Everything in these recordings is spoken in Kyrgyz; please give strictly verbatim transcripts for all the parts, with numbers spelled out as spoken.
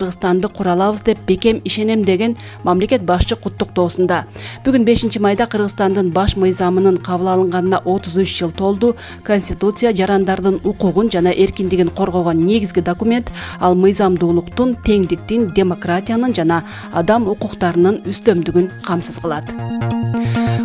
Кыргызстанды кура алабыз деп бекем ишенем деген мамлекет башчы куттуктоосунда. Бүгүн бешинчи майда Кыргызстандын баш мыйзамынын кабыл алынганына отуз үч жыл толду. Конституция жарандардын укугун жана эркиндигин коргогон негизги документ. Ал мыйзамдуулуктун, теңдиктин, демократиянын жана адам укуктарынын үстөмдүгүн камсыз кылат.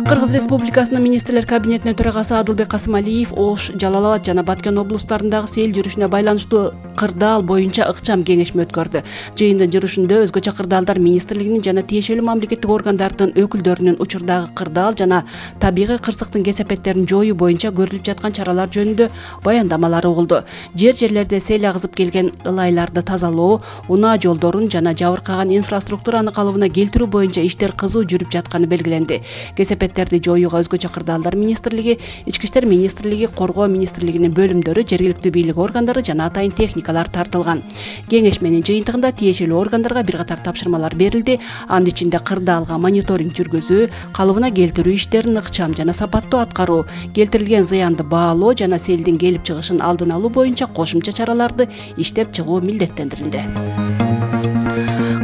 Кыргыз Республикасынын министрлер кабинетинин төрагасы Адылбек Касымалиев Ош, Жалал-Абад жана Баткен облустарындагы сел жүрүшүнө байланыштуу кырдаал боюнча ыкчам кеңешме өткөрдү. Жыйындын жүрүшүндө өзгөчө кырдаалдар министрлигинин жана тиешелүү мамлекеттик органдардын өкүлдөрүнүн учурдагы кырдаал жана табигый кырсыктын кесепеттерин жоюу боюнча көрүлүп жаткан чаралар жөнүндө баяндамалары угулду. Жер-жерлерде сел агызып келген ылайларды тазалоо, унаа жолдорун жана жабыркаган инфраструктураны калыбына келтирүү боюнча иштер кызуу жүрүп жатканы белгиленди. Кесепеттерди жоюуга өзгөчө кырдаалдар министрлиги, Ички иштер министрлиги, Коргоо министрлигинин бөлүмдөрү, жергиликтүү бийлик органдары жана атайын техникалар тартылган. Кеңешменин жыйынтыгында тиешелүү органдарга бир катар тапшырмалар берилди. Анын ичинде кырдаалга мониторинг жүргүзүү, калыбына келтирүү иштерин ыкчам жана сапаттуу аткаруу, келтирилген зыянды баалоо жана селдин келип чыгышын алдын алуу боюнча кошумча чараларды иштеп чыгуу милдеттендирилди.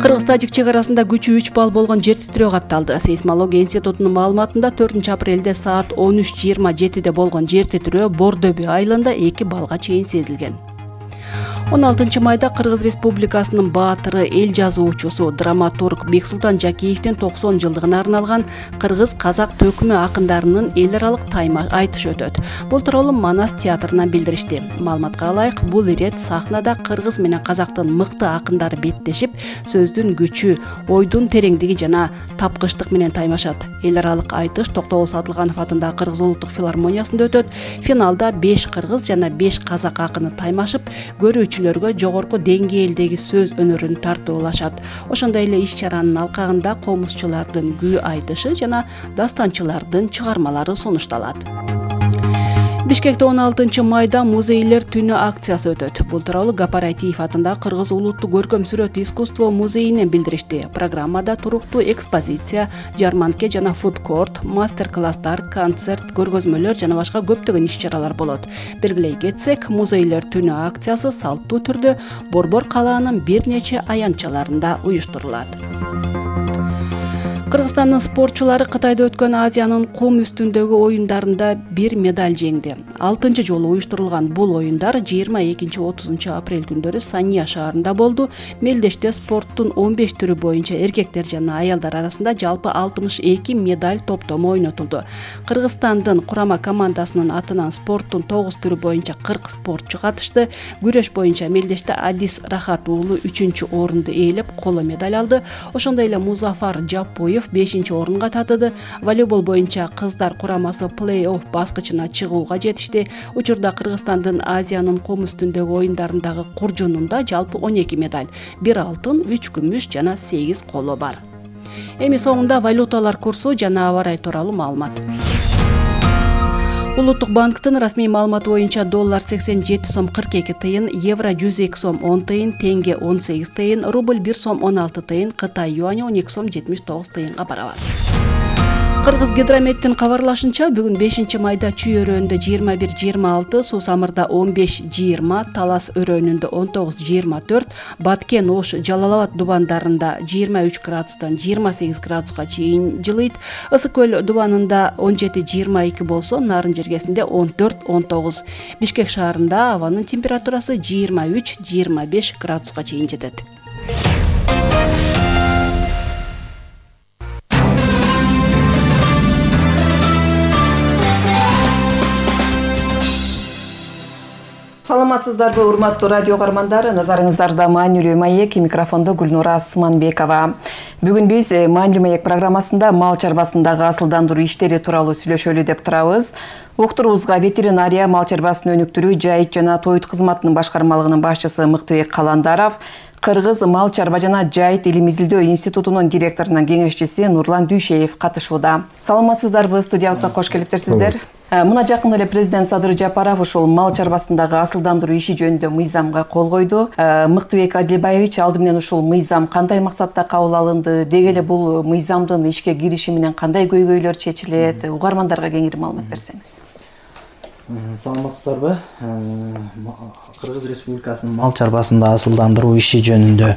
Кыргыз-Тажик чек арасында күчү үч балл болгон жер титирөө катталды. Сейсмология институтунун маалыматында төртүнчү апрелде саат он үч жыйырма жетиде болгон жер титирөө Бордөбү айылында эки баллга чейин сезилген. он алтынчы майда Кыргыз Республикасынын баатыры, эл жазуучусу, драматург Бексултан Жакиевдин токсон жылдыгына арналган кыргыз-казак төкмө акындарынын эл аралык тайма айтышы өтөт. Бул тууралуу Манас театрынан билдиришти. Маалыматка ылайык, бул ирет сахнада кыргыз менен казактын мыкты акындары беттешип, сөздүн күчү, ойдун тереңдиги жана тапкычтык менен таймашат. Эл аралык айтыш Токтогул Сатылганов атындагы Кыргыз улуттук филармониясында өтөт. Финалда беш кыргыз жана беш казак акыны таймашып, көрүүчүлөргө жогорку деңгээлдеги сөз өнөрүн тартуулашат. Ошондой эле иш-чаранын алкагында комузчулардын күү айтышы жана дастанчылардын чыгармалары сунушталат. Бишкекте он алтынчы майда музейлер түнү акциясы өтөт. Бул тууралуу Гапар атындагы Кыргыз улуттук көркөм сүрөт искусство музейинен билдиришти. Программада туруктуу экспозиция, жарманке жана фудкорт, мастер-класстар, концерт, көргөзмөлөр жана башка көптөгөн иш-чаралар болот. Белгилей кетсек, музейлер түнү акциясы салттуу түрдө Борбор калаанын бир нече аянтчаларында уюштурулат. Кыргызстандын спортчулары Кытайда өткөн Азиянын кум үстүндөгү оюндарында бир медаль жеңди. алтынчы жолу уюштурулган бул оюндар жыйырма экинчи отузунчу апрель күндөрү Сания шаарында болду. Мелдеште спорттун он беш түрү боюнча эркектер жана аялдар арасында жалпы алтымыш эки медаль топтому ойнотулду. Кыргызстандын курама командасынын атынан спорттун тогуз түрү боюнча кырк спортчу катышты. Күрөш боюнча Мелдеште Адис Рахат уулу үчүнчү орунду ээлеп, коло медаль алды. Ошондой эле Музафар Жапоев бешинчи орунга татыды. Волейбол боюнча кыздар курамасы плей-офф баскычына чыгууга жетишти. Учурда Кыргызстандын Азиянын кум үстүндөгү оюндарындагы куржунунда жалпы он эки медаль, бир алтын, үч күмүш жана сегиз коло бар. Эми соңунда валюталар курсу жана аба ырайы тууралуу маалымат. Улуттук банктын расмий маалыматы боюнча доллар сексен жети сом кырк эки тыйын, евро жүз эки сом он тыйын, тенге он сегиз тыйын, рубль бир сом он алты тыйын, Кытай юаньы он эки сом жетимиш тогуз тыйынга барабар. Кыргыз гидрометтин кабарлашынча, бүгүн бешинчи майда Чүй өрөөнүндө жыйырма бир жыйырма алты, Суу Самырда он беш жыйырма, Талас өрөөнүндө он тогуз жыйырма төрт, Баткен, Ош, Жалал-Абад дубандарында жыйырма үч градустан жыйырма сегиз градуска чейин жылыйт. Ысык көл дубанында он жети жыйырма эки болсо, Нарын жергесинде он төрт он тогуз. Бишкек шаарында абанын температурасы жыйырма үч жыйырма беш градуска чейин жетет. Саламатсыздарбы, урматтуу радио каармандар, назарыңыздарда маанилүү маек, микрофондо Гүлнура Сманбекова. Бүгүн биз маанилүү маек программасында мал чарбасындагы асылдандыруу иштери тууралуу сүйлөшөлү деп турабыз. Уктуруубузга ветеринария, мал чарбасын өнүктүрүү, жайыт жана тоют кызматынын башкармалыгынын башчысы Мыктыбек Каландаров, Кыргыз мал чарба жана жайыт илим изилдөө институтунун директорунун кеңешчиси Нурлан Дүйшеев катышууда. Саламатсыздарбы, студиябызга кош келиптерсиздер. Мына жакында эле президент Садыр Жапаров ушул мал чарбасындагы асылдандыруу иши жөнүндө мыйзамга кол койду. Мыктыбек Адилбаевич, алды менен ушул мыйзам кандай максатта кабыл алынды, деги эле бул мыйзамдын ишке кириши менен кандай көйгөйлөр чечилет, угармандарга кеңири маалымат берсеңиз. Саламатсыздарбы? Кыргыз Республикасынын мал чарбасында асылдандыруу иши жөнүндө